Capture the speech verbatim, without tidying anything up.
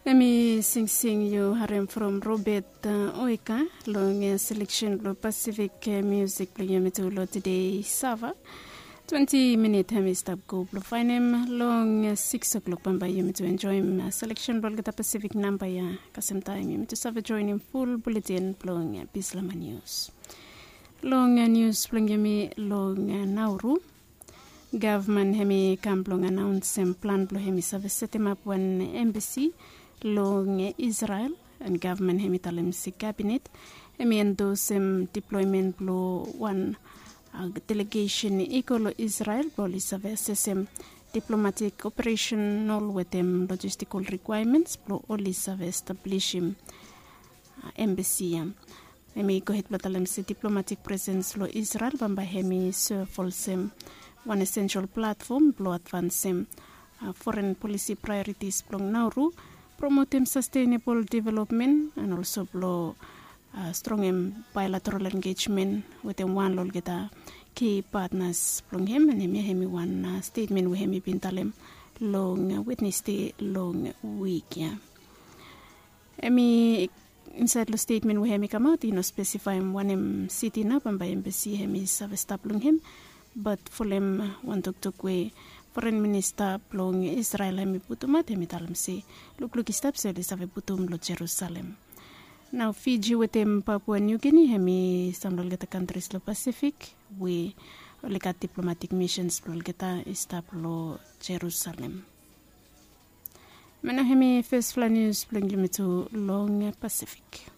Em i singsing yu harem from Robert Oika long seleksen blong Pasifik miusik blong yumi tu long tede Sava. Twenti minit em i stap go blong faenem long siks o'klok bambae yumi tu enjoem seleksen blong olgeta Pasifik namba ya. Kasem taem yumi tu save joenem ful buletin blong Bislama Nius. Long nius blong yumi long Nauru, gavman hem i kam blong anaonsem plan blong hem i save setemap wan embasi long Israel. An gavman hem i talem se kabinet hem i endosem diploemen blong wan delegesen i go long Israel blong oli save asesem diplomatik operesenal wetem lojistikel rikwaemens blong oli save establisim embasi ya. Hem i gohed blong talem se diplomatik presens long Israel bambae hem i sev olsem wan esensel platfom blong advansem foren polisi praeoritis blong Nauru, promotem sastenebol developmen an olso blong strongem baelateral engejmen wetem wan long olgeta ki patnas blong hem. An hemia hem i wan stetmen we hem i bin talem long Wednesde long wik ya. Hem i insaed long stetmen we hem i kamaot i no spesifaem wanem siti nao bambae embasi hem i save stap long hem. Bat folem wan toktok we foren minista blong Israel hem i putumaot hem i talem se lukluk i stap se oli save putum long Jerusalem. Nao Fiji wetem Papua Niu Gini hem i sam long olgeta kantris long Pasifik we oli gat diplomatik misens blong olgeta i stap long Jerusalem. Em nao hem i fesfala nius blong yumi tu long Pasifik.